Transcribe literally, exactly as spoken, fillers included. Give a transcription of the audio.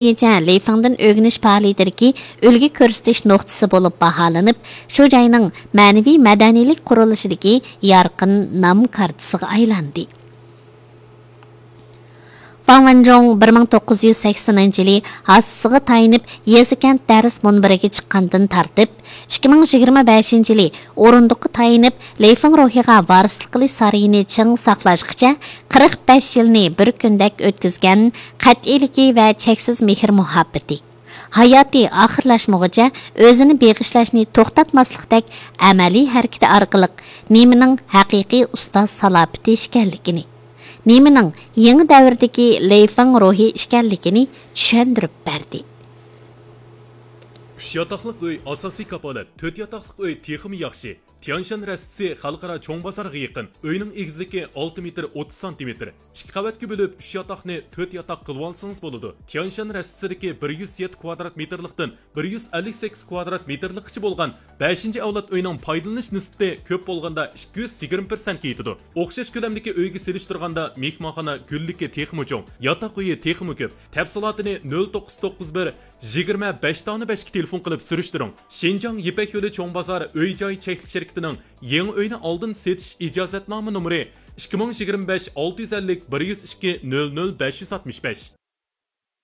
يىچە لېيفېڭدىن ئۆگىنىش پائالىيىتىدىكى ئۈلگە كۆرسىتىش نۇقتىسى بولۇپ باھالىنىپ، شۇ جاينىڭ مەنىۋى مەدەنىيلىك قۇرۇلۇشىدىكى يارقىن نام كارتىسىغا ئايلاندى. فاڭ ۋەنجۇڭ بىر مىڭ توققۇز يۈز سەكسىنىنچى يىلى ھاسىسىغا تايىنىپ يېزا-كەنت دەرس مۇنبىرىگە چىققاندىن تارتىپ، ئىككى مىڭ يىگىرمە بەشىنچى يىلى ئورۇندۇققا تايىنىپ لېيفېڭ روھىغا ۋارىسلىق قىلىش سارىيىنى چىڭ ساقلاشقىچە قىرىق بەش يىلنى بىر كۈندەك ئۆتكۈزگەن قەتئىيلىكى ۋە چەكسىز مېھىر-مۇھەببىتى، ھاياتى ئاخىرلاشمىغۇچە ئۆزىنى بېغىشلاشنى توختاتماسلىقتەك ئەمەلىي ھەرىكىتى ئارقىلىق نېمىنىڭ ھەقىقىي ئۇستاز سالاپىتى ئىكەنلىكىنى، نېمىنىڭ يېڭى دەۋردىكى لېيفېڭ روھى ئىكەنلىكىنى چۈشەندۈرۈپ بەردى. ئۈچ ياتاقلىق ئۆي ئاساسىي كاپالەت، تۆت ياتاقلىق ئۆي تېخىمۇ ياخشى. تيانشان رەستىسى خەلقئارا چوڭ بازارغا يېقىن. ئۆينىڭ ئېگىزلىكى ئالتە مېتىر ئوتتۇز سانتىمېتىر. ئىككى قەۋەتكە بۆلۈپ، ئۈچ ياتاقنى تۆت ياتاق قىلىۋالسىڭىز بولىدۇ. تيانشان رەستىسىدىكى بىر يۈز يەتتە كۋادرات مېتىرلىقتىن بىر يۈز ئەللىك سەككىز كۋادرات مېتىرلىققىچە بولغان بەشىنچى ئەۋلاد ئۆينىڭ پايدىلىنىش نىسبىتى كۆپ بولغاندا ئىككى يۈز يىگىرمە پىرسەنتكە يېتىدۇ. ئوخشاش كۆلەمدىكى ئۆيگە سېلىشتۇرغاندا مېھمانخانا گۈللۈكى تېخىمۇ چوڭ، ياتاق ئۆيى تېخىمۇ كۆپ. تەپسىلاتىنى نۆل توققۇز توققۇز بىر، يىگىرمە بەش دانە بەشكە تېلېفون قىلىپ سۈرۈشتۈرۈڭ. شىنجاڭ يىپەك يولى چوڭ بازار ئۆي جاي چەكلىك شىركىتىنىڭ يېڭى ئۆينى ئالدىن سېتىش ئىجازەتنامە نومۇرى ئىككى مىڭ يىگىرمە بەش ئالتە يۈز ئەللىك بىر يۈز ئىككى نۆل نۆل بەش يۈز ئاتمىش بەش.